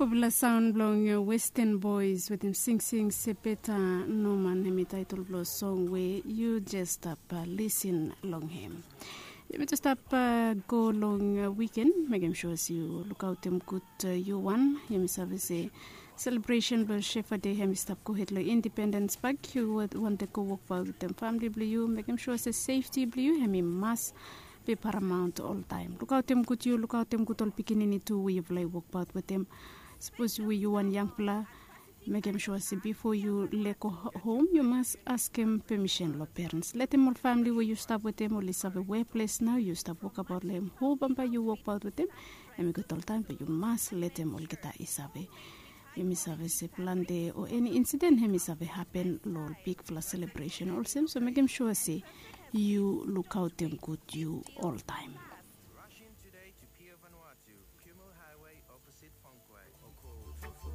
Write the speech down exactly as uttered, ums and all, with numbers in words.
Wapela saun blong Western Boys wetem singsing Sepeta Noman, hem i taitol blong song we yu jes stap lisin long hem. Yumi jes stap go long wiken, mekem sua se yu lukaotem gud yu wan. Yumi save se selebresen blong Shefa Dei hem i stap gohed long Independens Pak. Yu wantem go wokbaot wetem famili blong yu, mekem sua se sefti blong yu hem i mas be paramaon oltaem. Lukaotem gud yu, lukaotem gud ol pikinini tu we yufala i wokbaot wetem. Sapos we yu wan yangpela, mekem sua se bifo yu lego hom yu mas askem pemisen long perens. Letem ol famili we yu stap wetem oli save weples nao yu stap wokabaot long hem. Ho bambae yu wokbaot wetem, hem i gud oltaem be yu mas letem olgeta i save. Yumi save se plante o eni insiden hem i save hapen long ol bigfala selebresen olsem, so mekem sua se yu lukaotem gud yu oltaem.